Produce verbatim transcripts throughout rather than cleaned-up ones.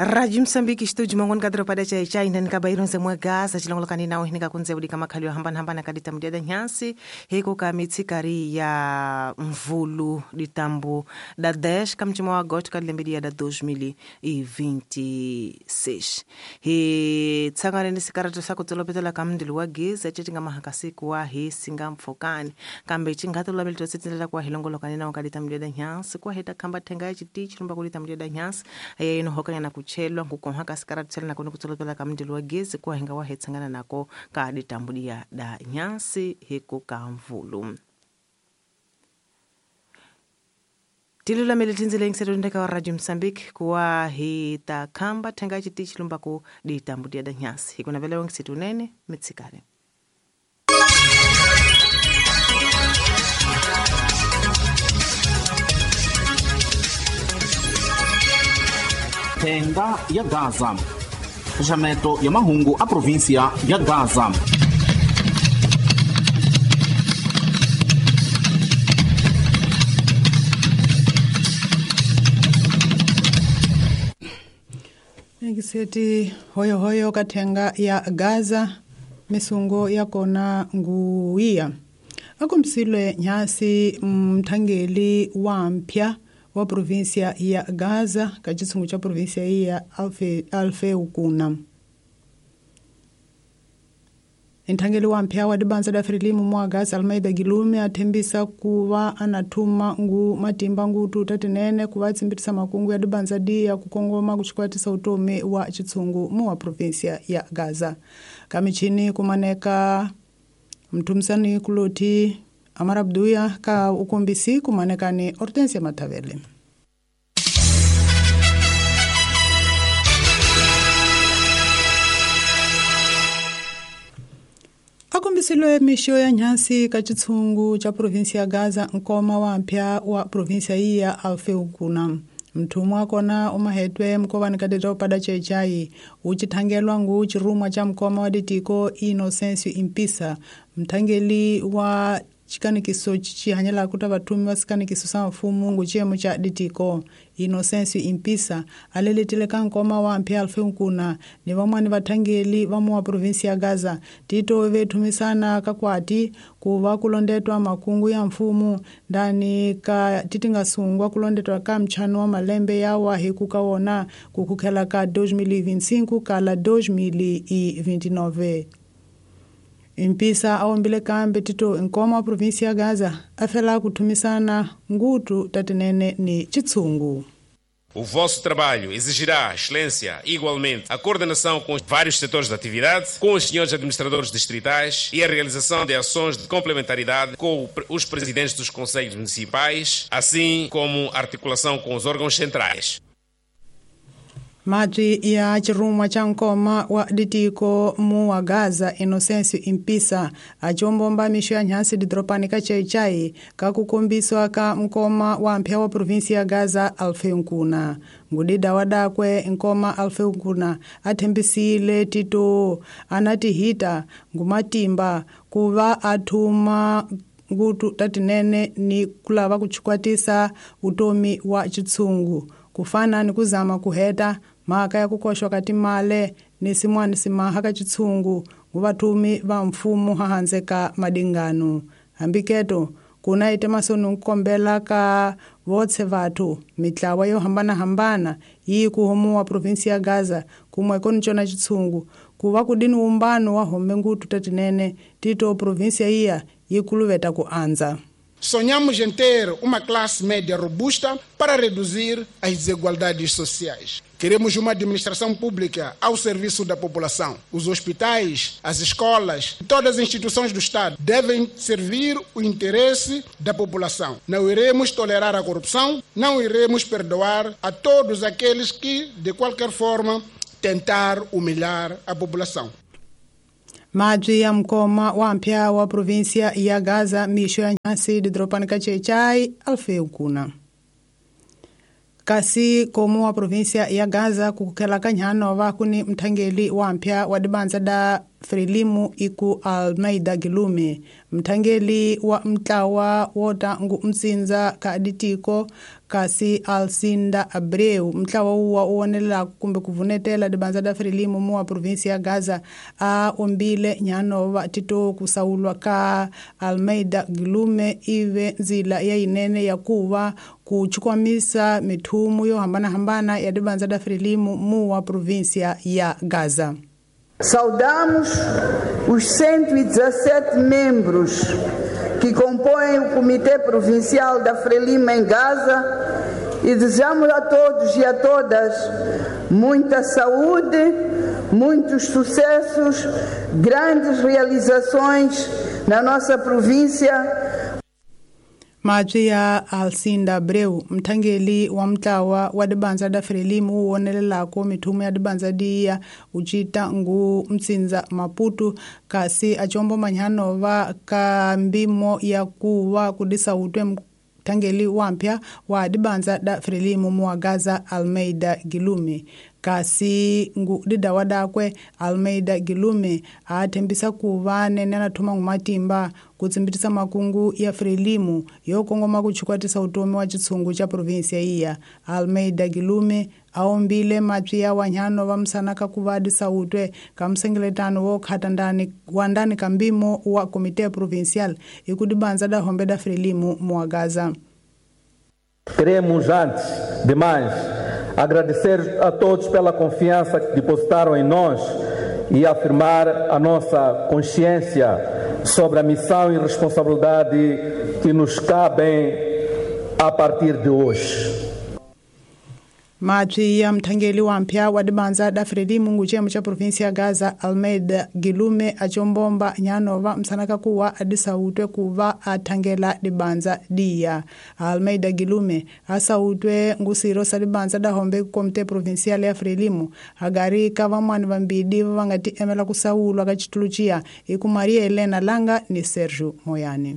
Rádio Moçambique, estúdio Mangon Kadro pada chai chai ndani kabairo nsemwe Gaza chilongolokani nawo hinika kunze udi kama khali hambana hambana kadita mdiada nyansi hiko kamitsikari ya mvulu ditambu da dez kamchimo wa agosto kadilembedi ya da dois mil e vinte e seis. He tsangane ni sikarato sako tsolopetela kamndilo wa geza chetinga mahakasiku wa he singa mfokani kambe chingato labelto sitindela kwa hilongolokani nawo kadita mdiada nyansi kwa heta kamba thenga ya chitichi lumba kulita mdiada nyansi aye ino hokanya na kuchelwa nkukonha kasikara na kono kutsolopela kamndilo wa gezi kwa hinga wa hetsangana nako ka ditambudia da nyansi hiko kamvulu. Tilula meletinzile ngiseto ndeka wa Radio Mozambique kwa hita kamba thenga chitichi lumba ku ditambudia da nyansi hiko na vele ngiseto nene mitsikare. Thenga ya Gaza, xaxameto ya mahungu a província ya Gaza. Ngiseti hoyo hoyo kathenga ya Gaza misungo ya kona nguia akumsilwe nyasi mthangeli wa mpya wa província ya Gaza ka xitshungu xa província ya Alfe Alfeu Kuna. Nthangeli wa mpya wa dibanza da Frelimu mwa Gaza Almeida Gilume athembisa kuva anathuma ngu matimba ngutu tatinene kuva tsimbitisa makungu ya dibanza dia kukongoma kuchikwatisa utomi wa xitshungu mu wa província ya Gaza. Kamichini kumaneka mtumisani kuloti Amarabduya ka ukombisi kumanekani Hortensia Matavele. Akombisilwe misho ya nyasi ka xitshungu cha província ya Gaza nkoma wa mpya wa província ya Alfeu Kuna. Mthumwa kona umahetwe mkovani kadeta upada chechai uchithangelwa ngu chirumwa cha mkoma wa ditiko Inocencio Impisa mthangeli wa chikanikiso chihanyela kuta vathumi va sikanikiso sa mfumo ngu chiyemo cha ditiko Inocencio Impisa aleletele ka nkoma wa mpya Alfeu Kuna ni van'wani vathangeli va mu wa província ya Gaza tito vethumisana kakwati ku va kulondetwa makungu ya mfumo ndani ka titingasungwa kulondetwa ka mchano wa malembe yawa hi ku ka wona ku kukhela ka dois mil e vinte e cinco kala dois mil e vinte e nove. Impisa awombile kambe tito nkoma wa província ya Gaza afela kuthumisana ngutu tatinene ni xitshungu. O vosso trabalho exigirá excelência, igualmente, a coordenação com os vários setores de atividade, com os senhores administradores distritais e a realização de ações de complementaridade com os presidentes dos conselhos municipais, assim como a articulação com os órgãos centrais. Mati ya chirumwa cha nkoma wa ditiko mu wa Gaza Inocencio Impisa achombomba misho ya nyasi didropani ka chaichai ka kukombiswa ka nkoma wa mpya wa província ya Gaza Alfeu Kuna. Ngudida wadakwe nkoma Alfeu Kuna athembisile tito anatihita ngumatimba kuva athuma ngutu tatinene ni kulava kuchikwatisa utomi wa xitshungu kufana ni kuzama kuheta mhaka ya kukoxwa ka timale ni sin'wana simaha ka xitshungu nguvathumi va mfumo hahandze ka madingano. Hambiketo kuna ite masoni nkombela ka votse vathu mitlawa yo hambanahambana yi ku homuwa província ya Gaza kumwe koni cona xitshungu ku va kudini wumbano wa home ngutu tatinene tito província iya yi kuluveta ku andza. Sonhamos em ter uma classe média robusta para reduzir as desigualdades sociais. Queremos uma administração pública ao serviço da população. Os hospitais, as escolas, todas as instituições do Estado devem servir o interesse da população. Não iremos tolerar a corrupção, não iremos perdoar a todos aqueles que, de qualquer forma, tentar humilhar a população. Mabyi ya mkoma wa mpya wa província ya Gaza misho ya nyasi didropani ka chechai Alfeu Kuna. Kasi komu wa província ya Gaza kukhela ka nhanova kuni mthangeli wa mpya wa dibanza da Frelimu iku Almeida Gilume mthangeli wa mtlawa wota ngu msinza ka ditiko kasi Alcinda Abreu mtlawa uwa uwonelela kumbe kuvunetela dibanza da Frelimu mu wa província ya Gaza a ombile nyanova tito kusaulwa ka Almeida Gilume ive nzila ya inene ya kuva kuchukwamisa mithumu yo hambana-hambana ya dibanza da Frelimu mu wa província ya Gaza. Saudamos os cento e dezassete membros que compõem o Comitê Provincial da Frelimo em Gaza e desejamos a todos e a todas muita saúde, muitos sucessos, grandes realizações na nossa província. Mabyi ya Alcinda Abreu mthangeli wa mtlawa wa dibanza da Frelimu wu wonelelako mithumu ya dibanza diya ucita ngu mtsinza Maputo kasi acombo manyanova ka mbimo ya kuva kudisa utwe mthangeli wampya wa dibanza da Frelimu mu wa Gaza Almeida Gilume kasi ngu didawa dakwe Almeida Gilume athembisa kuva nene anathuma ngumatimba kutsimbitisa makungu ya Frelimu yo kongoma kuchikwatisa utomi wa chitsungu cha província iya. Almeida Gilume aombile mapyi ya wanyano va msanaka kuva adisa utwe ka msengeletano wo khata ndani wa ndani ka mbimo wa Comité Provincial ikudibanza da hombe da Frelimu mu wa Gaza. Queremos, antes de mais, agradecer a todos pela confiança que depositaram em nós e afirmar a nossa consciência sobre a missão e responsabilidade que nos cabem a partir de hoje. Mabyi ya mthangeli wa mpya wa dibanza da Frelimu nguchemo cha província ya Gaza Almeida Gilume achombomba nyanova msanaka kuwa adisautwe kuva athangela dibanza diya. Almeida Gilume asautwe ngusiro sa dibanza da hombe Comité Provincial ya Frelimu agari ka vamwani vambidi vangati emela kusaulwa ka chituluchiya iku Maria Helena Langa ni Sergio Moyani.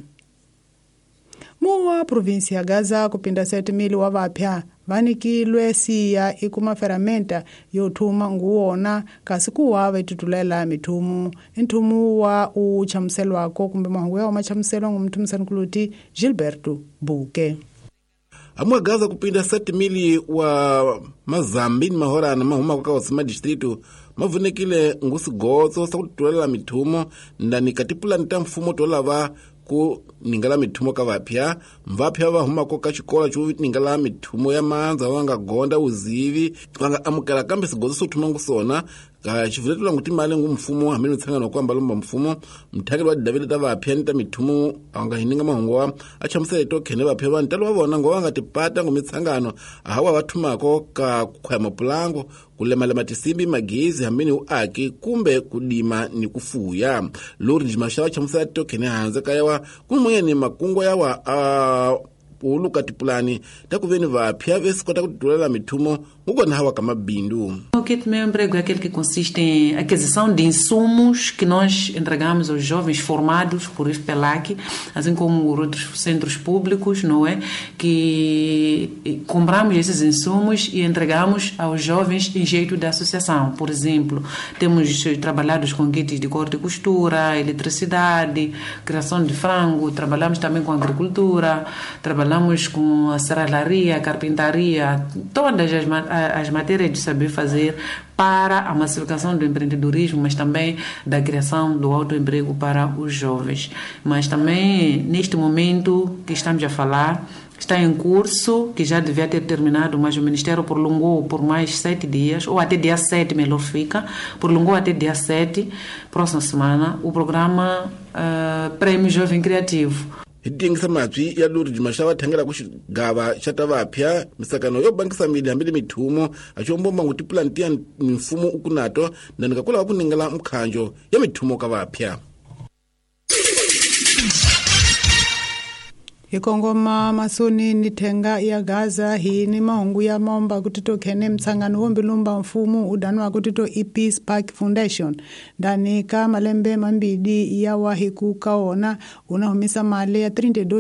Muwa província ya Gaza kupinda sete mili wa vapya vanikilwe siya ikuma ferramenta yothuma nguwona kasi kuwa vaitutulela mithumu nthumu wa uchamuselwako kumbe mahungu yawo machamuselwa ngumthumisankuluti Gilberto Buke. Amwa Gaza kupinda sete mili wa mazambi ni mahorana mahuma kwa wasima distrito mavunekile ngusigotso sakututulela mithumu ndani katipulani ta mfumo tolava ku ningala mithumo ka vapya mvapya va humako ka xikolo xo ningala mithumo ya mandza va nga gonda uzivi va nga amukela kambe swigozo swo thuma ngusona ka xivuletelo ngu timali ngu mfumo hambi mitshangano ku ambalomba mfumo mthakeli wa David ta vapya ni ta mithumo a nga hininga mahungu wa a chamusele to khene vapya va ntalo wa vona ngo va nga tipata ngu mitshangano hawa va thumako ka ku khwaya mapulango ku lemalema tisimbi magezi hambi ni uaki kumbe kudima ni kufuya lori jimasha va chamusela to khene hanze ka yawa kumwe makungo yawa a uluka tipulani takuveni vapya vesikota kutulela mithumo ngukona hawa kamabindu. O kit meu emprego é aquele que consiste em aquisição de insumos que nós entregamos aos jovens formados por I F P L A C, assim como outros centros públicos, não é? Que compramos esses insumos e entregamos aos jovens em jeito da associação. Por exemplo, temos trabalhado com kits de corte e costura, eletricidade, criação de frango, trabalhamos também com agricultura, trabalhamos com a serralharia, carpintaria, todas as, as matérias de saber fazer para a massificação do empreendedorismo, mas também da criação do autoemprego para os jovens. Mas também, neste momento que estamos a falar, está em curso, que já devia ter terminado, mas o Ministério prolongou por mais sete dias, ou até dia sete, melhor fica, prolongou até dia sete, próxima semana, o programa uh, Prêmio Jovem Criativo. Hitingisa mabyi ya lori jimasha va thangela ku xigava xa ta vapya misakano yo bangisa mili hambi le mithumo axombomba ngu tipulani tiya mimfumo ukunato ndani ka kulava ku ningela mkhanjo ya mithumo ka vapya. Hi kongoma masoni ni thenga ya Gaza hi ni mahungu ya momba kuti to khene mtsangano wo mbilumba mfumo udanwa kuti to e Peace Park Foundation ndani ka malembe mambili ya wahi ku kaona una humisa mali ya trinta e dois